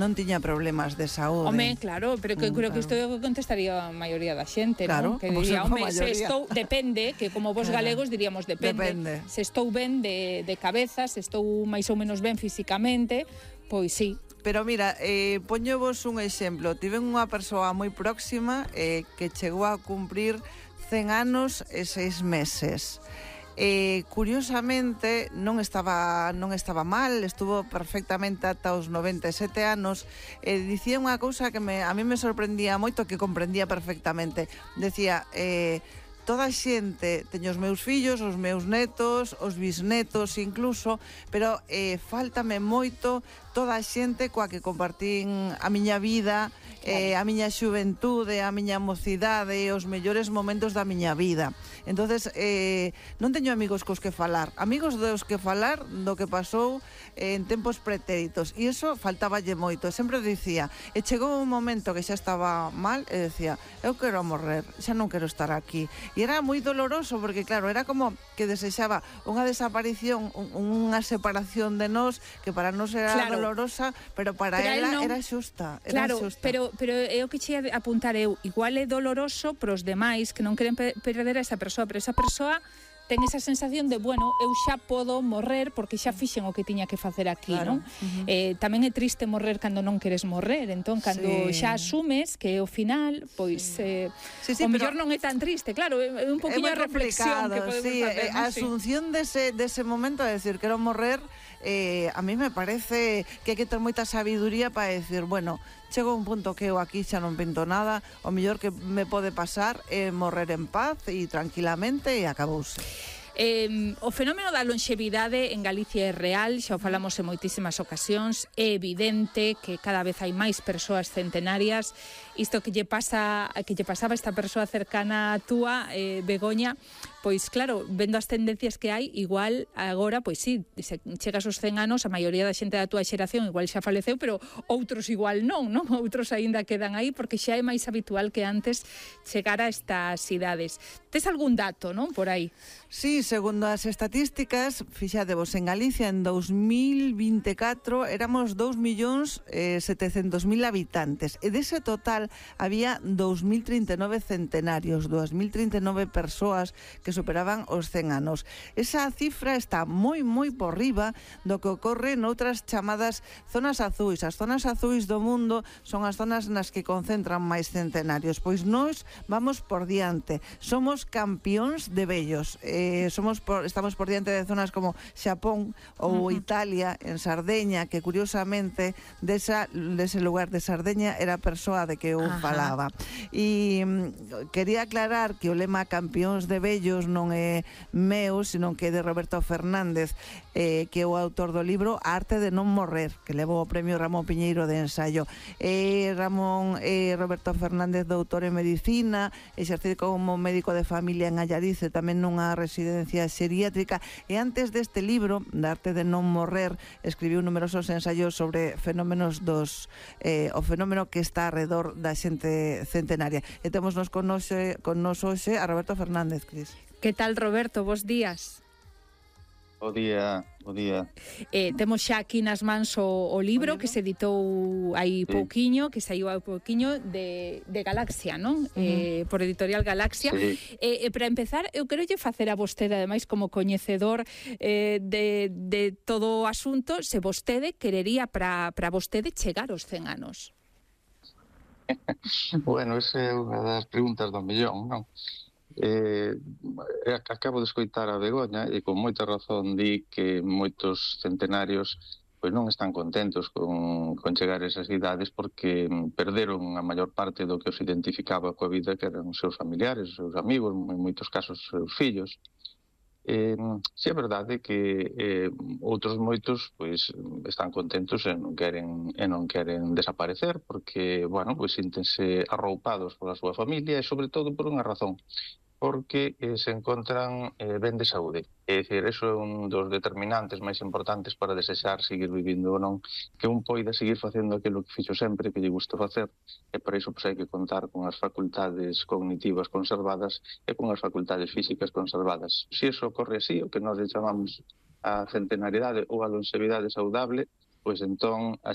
non tiña problemas de saúde. Home, claro, pero que creo que isto contestaría a maioría da xente, claro, non? Que diría, home, se maioría. estou, depende, que como vos galegos diríamos depende. Se estou ben de cabeza, se estou máis ou menos ben físicamente, pois sí. Pero mira, poñovos un exemplo. Tiven unha persoa moi próxima que chegou a cumprir 100 anos e 6 meses. Curiosamente non estaba mal, estuvo perfectamente ata os 97 anos. Dicía unha cousa que a mí me sorprendía moito, que comprendía perfectamente. Decía, toda a xente, teño os meus fillos, os meus netos, os bisnetos incluso, pero faltame moito toda a xente coa que compartín a miña vida, a miña xuventude, a miña mocidade, os mellores momentos da miña vida. Entonces, non teño amigos cos que falar, amigos dos que falar do que pasou en tempos pretéritos, e iso faltáballe moito. Sempre dicía, e chegou un momento que xa estaba mal, e decía, eu quero morrer, xa non quero estar aquí. E era moi doloroso, porque claro, era como que desexaba unha desaparición, unha separación de nós, que para nós era dolorosa, pero para ela era xusta. Claro, pero é o que che apuntar eu, igual é doloroso pros demais que non queren perder a esa persoa, pero esa persoa ten esa sensación de, bueno, eu xa podo morrer porque xa fixen o que tiña que facer aquí, non? Tamén é triste morrer cando non queres morrer, entón, cando xa asumes que o final, pois, o mellor non é tan triste, claro, é un poquinho de reflexión que podemos facer. A asunción dese momento, de decir, quero morrer, a mí me parece que hai que ter moita sabiduría para decir, bueno, chego a un punto que eu aquí xa non pinto nada, o mellor que me pode pasar é morrer en paz e tranquilamente e acabouse. O fenómeno da lonxevidade en Galicia é real, xa o falamos en moitísimas ocasións, é evidente que cada vez hai máis persoas centenarias. Isto que lle pasaba a esta persoa cercana a túa, Begoña, pois claro, vendo as tendencias que hai, igual agora, pois sí, se chegas aos 100 anos, a maioría da xente da túa xeración igual xa faleceu, pero outros igual non? Outros aínda quedan aí, porque xa é máis habitual que antes chegar a estas idades. Tes algún dato, non, por aí? Sí, segundo as estatísticas, fixadevos, en Galicia en 2024 éramos 2.700.000 habitantes, e dese total había 2.039 centenarios, 2.039 persoas que superaban os 100 anos. Esa cifra está moi por riba do que ocorre noutras chamadas zonas azuis. As zonas azuis do mundo son as zonas nas que concentran máis centenarios. Pois nós vamos por diante, somos campións de vellos. Estamos por diante de zonas como Xapón ou Italia, en Sardeña, que curiosamente dese lugar de Sardeña era a persoa de que eu falaba. E quería aclarar que o lema campións de vellos non é meu, sino que é de Roberto Fernández, que é o autor do libro A arte de non morrer, que levou o premio Ramón Piñeiro de ensaio. Roberto Fernández, doutor en medicina, exercido como médico de familia en Allarize, tamén nunha residencia xeriátrica, e antes deste libro, Da arte de non morrer, escribiu numerosos ensaios sobre fenómenos o fenómeno que está alrededor da xente centenaria. E temos con nos hoxe a Roberto Fernández, Cris. Que tal, Roberto? Bos días. Bo día. Temos xa aquí nas mans o libro que se editou hai pouquiño, que saiu hai pouquiño de Galaxia, non? Por Editorial Galaxia. Para empezar, eu quero lle facer a vostede, ademais, como coñecedor de todo o asunto, se vostede querería para vostede chegar aos 100 anos. Bueno, esa é unha das preguntas do millón, non? Acabo de escoitar a Begoña e con moita razón di que moitos centenarios pois non están contentos con chegar a esas idades porque perderon a maior parte do que os identificaba coa vida, que eran os seus familiares, os seus amigos, en moitos casos os seus fillos. Si é verdade que outros moitos pois están contentos e non queren desaparecer porque, bueno, pois síntense arroupados pola súa familia e sobre todo por unha razón, porque se encontran ben de saúde. É dicir, eso é un dos determinantes máis importantes para desexar seguir vivindo ou non, que un poida seguir facendo aquilo que fixo sempre, que lle gusta facer, e para iso hai que contar con as facultades cognitivas conservadas e con as facultades físicas conservadas. Se iso ocorre así, o que nós chamamos a centenariedade ou a longevidade saudable, pois entón a